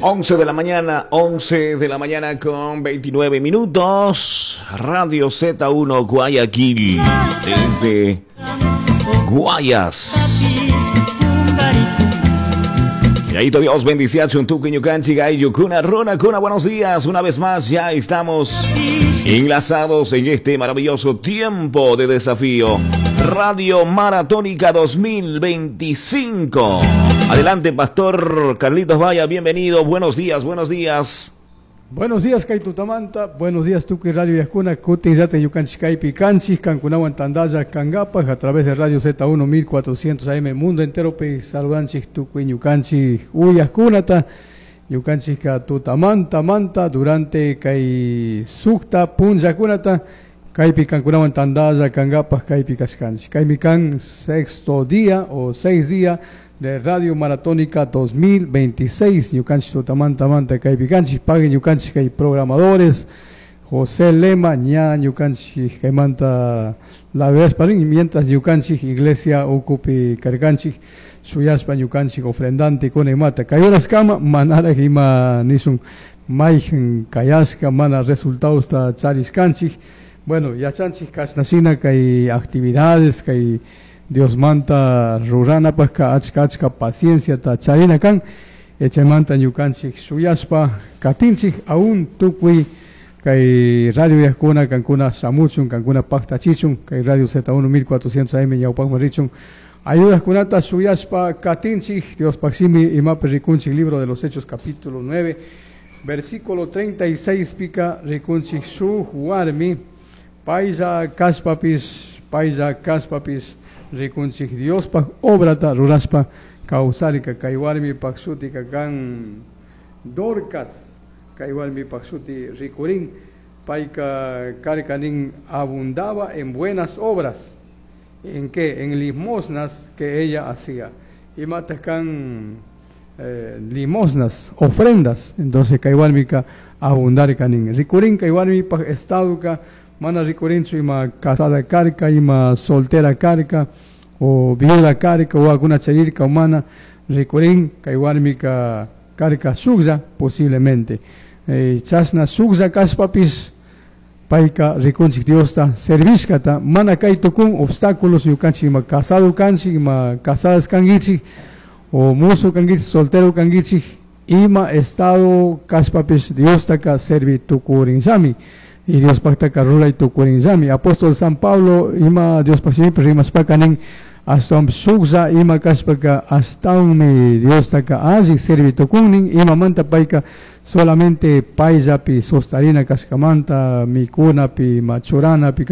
11 de la mañana, 11 de la mañana con 29 minutos. Radio Z1 Guayaquil, desde Guayas. Y ahí Dios bendice a Chuntuki Ñukanchi Yukuna Runa Kuna. Buenos días, una vez más ya estamos enlazados en este maravilloso tiempo de desafío. Radio Maratónica 2025. Adelante, Pastor Carlitos Vaya, bienvenido. Buenos días, buenos días. Buenos días, kay tutamanta. Buenos días, Tukuy Radio Uyajkuna, Kutin llata ñukanchik kaypi kanchik, kankunawan tandalla kangapaj a través de Radio Z1 1400 AM Mundo entero pi saludanchik tukuy ñukanchik uyajkunata. Ñukanchikka tutamanta manta durante kay sukta punllakunata kaypi kankunawan tandalla kangapaj kaypi kashkanchik. Kaymi kan sexto día o 6 día de Radio Maratónica 2026. Ñukanchik tutamanta manta kaypi kanchik, pagui ñukanchik kay programadores José Lema ña ñukanchik kaymanta la verdad mientras ñukanchik iglesia ukupi karkanchik shuyashpa ñukanchik ofrendante kuna imata kay horaskama manaraj ima nisun mayjan kayashka mana resultadosta charishkanchik. Bueno, yachanchik kashnashina kay actividades kay Diosmanta ruranapajka achka achka pacienciata charina kan. Chaymanta ñukanchik shuyashpa katinchik aún tukuy kay radio uyajkuna kankuna shamuchun, kankuna paktachichun kay Radio Z1 1400 AM ñawpakman richun ayudajkunata shuyashpa katinchik. Diospaj shimi imapi rikunchik, Libro de los Hechos capítulo 9 versículo 36 pika rikunchik shuj warmi paylla kashpapish, paylla kashpapish rikunchik Diospaj obrata rurashpa kawsarka. Kay warmipaj shutika kan Dorcas. Kay warmipaj shuti rikurin, payka karka nin abundaba en buenas obras. ¿En qué? En limosnas que ella hacía. Imataj kan limosnas, ofrendas. Entonces kay warmika abundarka nin. Rikurin kay warmipaj estadoka mana rikurinchu ima casada karka, ima soltera karka, o viuda karka, o alguna charirka o mana rikurin kay warmika karka shuklla posiblemente. Chashna shuklla kashpapish payka rikunchik Diosta servishkata. Mana kay tukun obstáculos ñukanchik ima casado kanchik, ima casadas kankichik, o mozo kankichik, soltero kankichik, ima estado kashpapish Diostaka servi tukurinllami y Diospajtaka ruray tukurinllami. Apóstol San Pablo ima Diospaj shimipi rimashpaka nin ashtawanpish shuklla ima kashpaka ashtawanmi Diostaka alli servi tukunnin. Imamanta payka solamente payllapi sostarina kashkamanta mikunapi, ima churanapi.